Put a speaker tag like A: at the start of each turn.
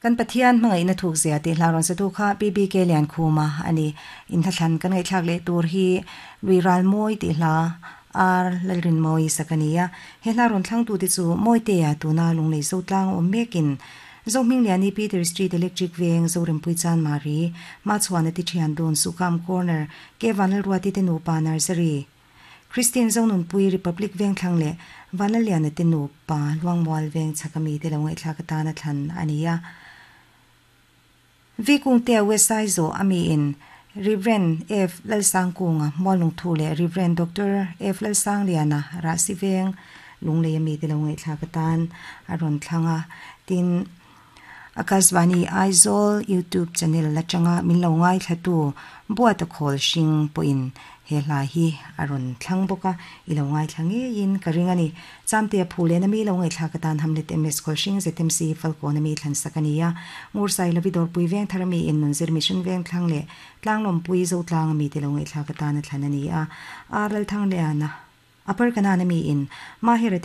A: Kan Pathian hmangaihna thuk zia tih hla rawn satu kha PBK Liankhuma a ni. Inhla thlan kan ngaihthlak leh tur hi Lui Ral Mawi tih hla R Lalrinmawii sak a ni a. He hla rawn thlangtute chu Mawitea tuna Lunglei Zotlang awm mekin Zohmingliani Peter Street Electric Veng Zorempui Chanmari Machhuana ti thian dun Sukham Corner Ke Vanlalruati te nupa Nursery Christine Zonunpui Republic Vengthlang leh Vanlalliana te nupa Luangmual Veng chhaka mite lo ngaihthlak atana thlan a ni a. V Kungtea West Aizaw a miin Rev. F Lalsangkunga Muallungthu leh Rev. Doctor F Lalsangliana Rahsi Veng Lunglei a mite lo ngaihthlak atan a rawn thlang a. Tin, Akashvani Aizawl YouTube channel atanga min lo ngaithlatu Buata Khawl Hring pawhin he hla hi a rawn thlang bawk a, i lo ngaithla ngeiin ka ring a ni. Chamtea phu lehna mi lo ngaihthlak atan Hamlet MS Khawl Hring ZMC Falkawn ami thlan sak a ni a, Ngursai Lavi Dawrpui Vengthar ami in Nunzir Mission Vengthlang leh Tlanglawmpui Zotlang ami te lo ngaihthlak atan a thlan a ni a, Ar Lalthangliana Upper Kanan ami in Mahera te.